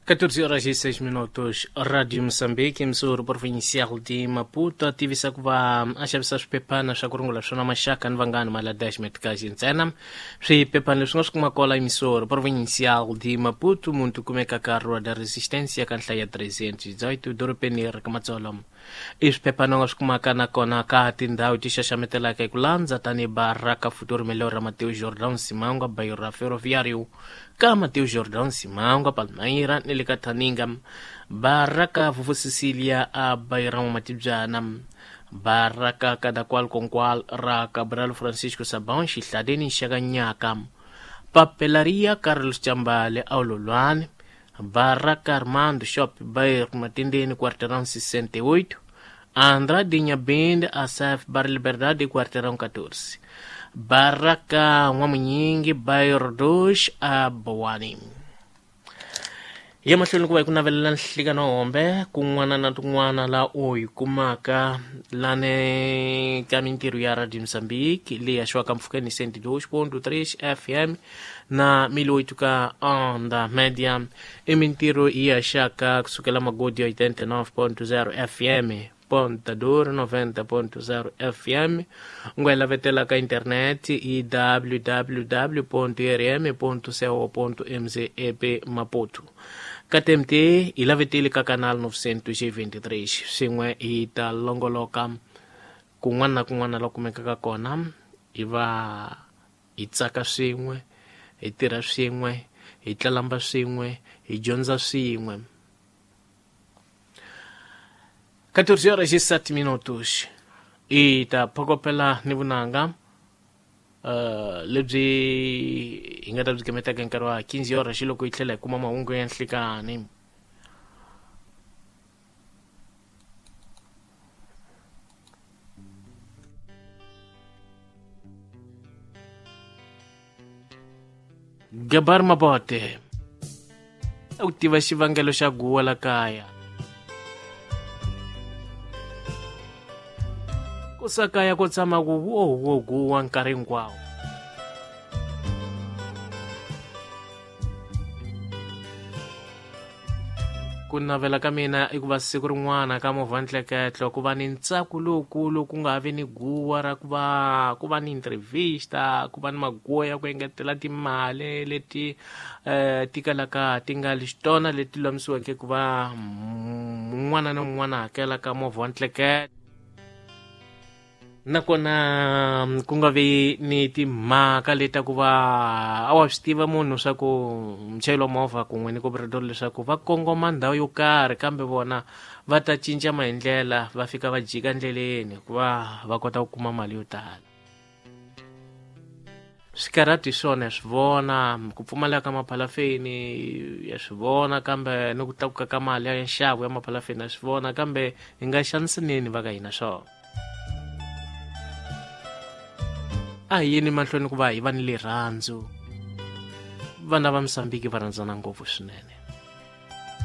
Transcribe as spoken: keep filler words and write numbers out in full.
catorze horas e seis minutos, Rádio Moçambique, emissora provincial de Maputo, ativisa ku va a xavisa swiphephana swa ku rungula swona maxaka ni vanghana mali ya dez meticais ntsena. Swiphephana leswi nga swi kuma kwala emissora provincial de Maputo, muntu kumeka ka Rua da Resistência ka nhlaya trezentos e dezoito, dorobeni ra ka Matsolo. I swiphephana u nga swi kumaka nakona ka tindhawu ti xaxametelaka hi ku landza tanihi Baraka Futuro Melhor ra Mateus Jordão Simangwa, bairro ra Ferroviário ka Mateus Jordão Simangwa, Palmeira ni le ka Thaninga, Baraka Vuvu Cecilia a Bairão Matibyana, Baraka Kadakwal Konkwal ra Cabral Francisco Sabão Xihlaleni Xakanyaka, Papelaria Carlos Chambale Aulolwane, Baraka Armando Shop Bairro Matendeni Quarteirão sessenta e oito, Andrade Nhabende Asaf Bar Liberdade Quarteirão catorze, Baraka Nwamunyingi Bairro dois a Boani. Ya mahlweni ku va hi ku navelela nhlikano hombe kun'wana na tin'wana la u yi kumaka lane ka mintirho ya Radio Moçambique leyi haxiwaka mpfhukeni cento e dois ponto três F M na mil oito ka onda média. I mintirho yi haxaka kusukela magodi ya oitenta e nove ponto zero F M, Ponta Duro noventa ponto zero F M, u nga yi lavetela ka internet i w w w ponto r m ponto co ponto m z e p Maputo. Ka T M T hi laveteli ka canal novecentos e vinte e três, swin'we hi ta longoloka kun'wana na kun'wana la kumekaka kona, hi va hi tsaka swin'we, hi tirha swin'we, hi tlalamba swin'we, hi dyondza swin'we. catorze horas e sete minutos. I ta phokopela ni vunanga uh, lebyi hi nga ta byi gemetaka nkarhi wa quinze horas loko hi tlhela hi kuma mahungu ya nhlikani. Gabar Mabote u tiva xivangelo xa guwa la kaya. Ku sakaya ku tshama ku wo wo guwa nkarhi hinkwawo. Ku navela ka mina i ku va siku rin'wana ka movha ntleketlo ku va ni ntsako lowukulu, ku nga vi ni guwa ra ku va ku va ni entrevista, ku va ni maguwa ya ku engetela timali leti eh, ti kalaka ti nga li xitona leti lulamisiweke ku va un'wana na un'wana hakela ka movha wa ntleketlo. Nakona ku nga vi ni timhaka leta ku va a wa swi tiva munhu swa ku muchayeri wa movha kun'we ni cobrador leswaku va kongoma ndhawu yo karhi, kambe vona va ta cinca maendlela va fika va jika ndleleni ku va va kota ku kuma mali yo tala. Swikarhati hi swona ya swi vona, ku pfumaleka ka maphalafeni ya swi vona, kambe ni ku tlakuka ka mali ya nxavo ya maphalafeni ya swi vona, kambe hi nga xanisaneni va ka hina swona. A hi yeni mahlweni ku va hi va ni rirhandzu. Vana va Mozambique va rhandzana ngopfu swinene.